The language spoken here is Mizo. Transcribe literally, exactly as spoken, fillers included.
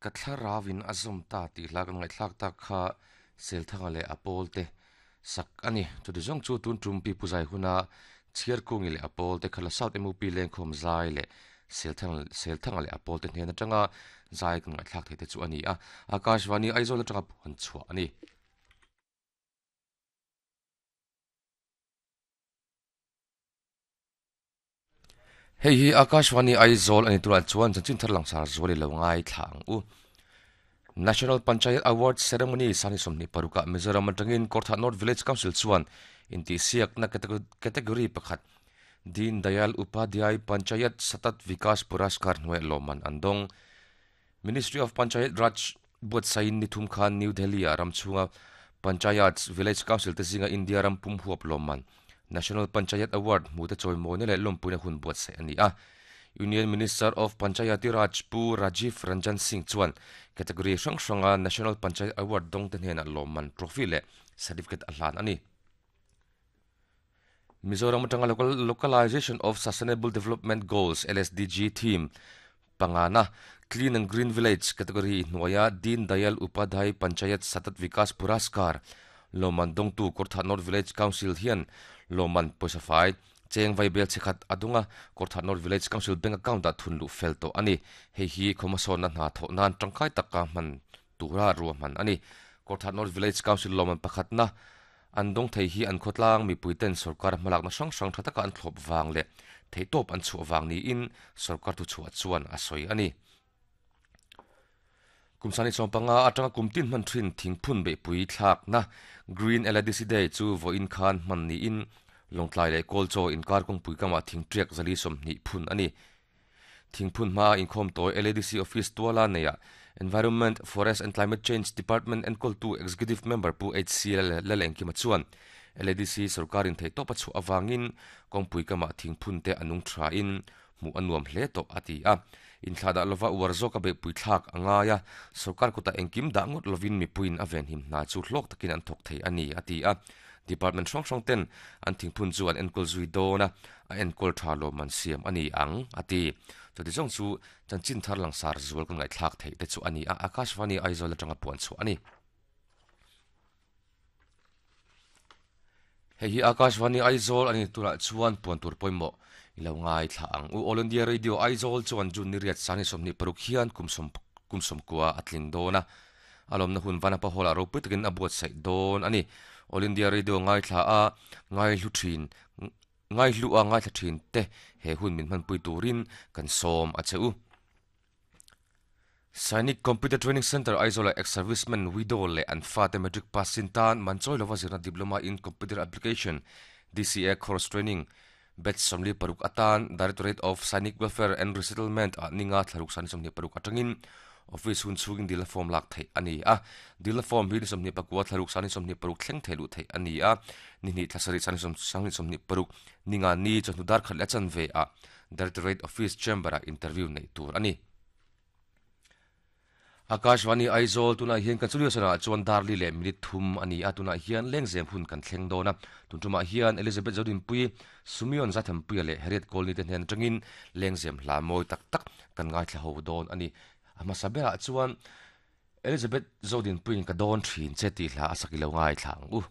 Ka thlarauin a zawm ta tih hla kan ngaihthlak tak kha Selthanga leh a pawl te sak a ni. Chuti zawng chu tun tum pi puzai huna Chhiarkungi leh a pawl te khala South M U P lengkhawm zai leh Selthanga Selthanga leh a pawl te hnen atanga zai kan ngaihthlak thei te chu a ni a. Akashvani Aizawl atanga puan chhuah a ni. Hei hi Akashvani Aizawl ani turah chuan chanchin thar langsar zual i lo ngai thla ang u. National Panchayat Award Ceremony sani sawmhnih parukah Mizoram atangin Kawrthah North Village Council chuan intihsiakna category pakhat Deen Dayal Upadhyay Panchayat Satat Vikas Puraskar hnuaiah lawmman an dawng. Ministry of Panchayat Raj buatsain ni thum khan New Delhi-ah ram chhunga Panchayats Village Council te zinga India ram pum huap lawmman National Panchayat Award hmu te chawimawina leh lawmpuina hun buatsaih a ni a. Union Minister of Panchayati Raj Pu Rajiv Ranjan Singh chuan category hrang hranga National Panchayat Award dawng te hnenah lawmman trophy leh certificate a hlan a ni. Mizoram atanga Localization of Sustainable Development Goals L S D G theme pangana Clean and Green Village category hnuaia Deen Dayal Upadhyay Panchayat Satat Vikas Puraskar lawmman dawngtu Kawrthah North Village Council hian lawmman pawisa fai cheng vai bel chekhat adunga Kawrthah North Village Council bank account ah thun luh fel tawh a ni. Hei hi khawmasawnna hna thawh nan tangkai taka hman tura ruah hman a ni. Kawrthah North Village Council lawmman pakhatna an dawng thei hi an khawtlang mipuiten sarkar hmalakna hrang hrang tha taka an thlawp vang leh theitawp an chhuah vang niin sarkar thu chhuah chuan a sawi a ni. Kumsani sawmpanga atanga kumtin hman thin thingphun beihpui thlakna Green L A D C Day chu vawiin khan hman niin lawngtlai leh kawlchaw inkar kawngpui kamah thingtriak zali sawmhnih phun a ni. Thingphun hma inkhawm tawi L A D C office tuala neiah Environment, Forest and Climate Change Department enkawl Executive Member Pu H C Lalengkima chuan L A D C sarkarin theitawp a chhuah awangin kawngpui kamah thingphun te anung tha in hmuh a nuam hle tawh a ti a. Inthlahdah lova uar zawk a beihpui thlak a ngai a, sarkar kutah engkim dah ngawt lovin mipuiin a venhim hna chu hlawk takin an thawk thei a ni a ti a. Department hrang hrang ten an thingphun chu an enkawl zui dawn a, a enkawl tha lawmman siam a ni ang a ti. Chuti zawng chu chanchin thar langsar zual kan ngaihthlak theih te chu a ni a. Akashvani Aizawl atanga puan chhuah a ni. Hei hi Akashvani Aizawl ani turah chuan puan tur pawimawh i lo ngai thla ang u. All India Radio Aizawl chuan June ni riat sani sawmhnih paruk hian kumsawm kumsawm kua a tling dawn a. A lawmna hun vanapa hall ah ropui takin a buatsaih dawn a ni. All India Radio ngai thla a ngai hlu thin ngai hlu a ngai thla thin te he hun min hmanpui turin kan sawm a che u. Sainik Computer Training Center Aizawl ex-serviceman widow leh an fa te matric pass sin tan manchawi lova zirna diploma in computer application D C A course training batch sawmli paruk atan Directorate of Sainik Welfare and Resettlement ah ninga thlaruk sani sawmhnih paruk atangin office hun chhungin dil form lak thei a ni a. Dil form hi ni sawmhnih pakua thlaruk sani sawmhnih paruk thleng thei luh thei a ni a. Ni hnih thlasarih sani sawmhnih sawmhnih paruk ninga ni chawhnu dar khat leh a chanve ah Directorate Office Chamber ah interview nei tur a ni. Akashvani Aizawl tunah hian kan studio sanah chuan darli leh minute thum a ni a. Tunah hian lengzem hun kan thleng dawn a. Tun tumah hian Elizabeth Zodinpui Sumion Zathampuia leh Harriet Colney te hnen atangin lengzem hla mawi tak tak kan ngaithla ho dawn a ni. A hmasa berah chuan Elizabeth Zodinpuiin ka dawn thin che tih hla a sak i lo ngaithla ang u.